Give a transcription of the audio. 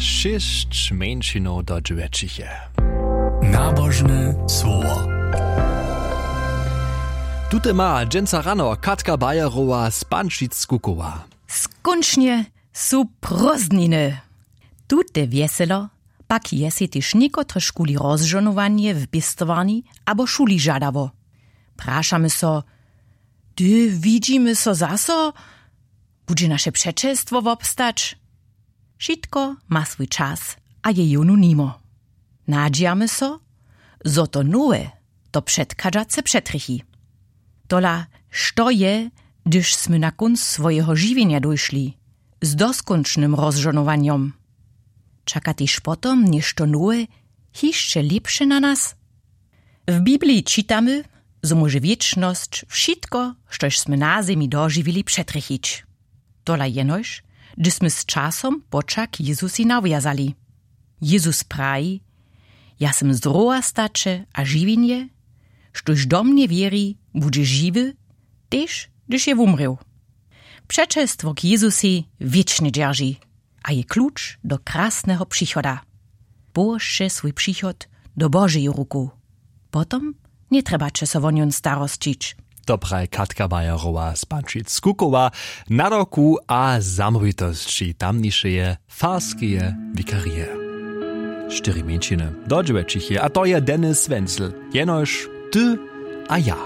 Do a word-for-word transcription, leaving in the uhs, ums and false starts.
Šěsć mjeńšinow do dźewjećich je. Nabožne słowo. Tute ma dźensa rano Katka Bayerowa z Pančic kukowa. Skónčnje su prózdniny. Tute wjeselo pak je sej tež někotrežkuli rozžonowanje w pěstowarni abo šuli žadało. Prašamy so, hdy widźimy so zaso? Budźe naše přećelstwo wobstać? Wšitko ma swój čas a je jónu nimo. Nadźijamy so, zo to nowe to předchadźace přetrjechi. Tola, što je, hdyž smy na kónc swojeho žiwjenja dóšli z doskónčnym rozžonowanjom? Čaka tež potom něšto nowe, hišće lěpše na nas? W bibliji čitamy, zo móže wěčnosć wšitko, štož smy na zemi dožiwili, přetrjechić. Tola jenož, hdyž smy z časom poćah k Jezusej nawjazali. Jezus praji: „Ja sym zdrowastaće a žiwjenje. Štóž do mnje wěri, budźe žiwy, tež hdyž je wumrěł.“ Přećelstwo k Jezusej wěčnje dźerži a je kluč do krasneho přichoda. Połožće swój přichod do Božeju ruku. Potom njetrjebaće so wo njon starosćić. To praji Katka Bayerowa z Pančic kukowa, nadawku a zamołwitosći tamnišeje farskeje wikarije. Štyri mjeńšiny do dźewjećich je, a to je Dennis Wenzel. Jenož ty a ja.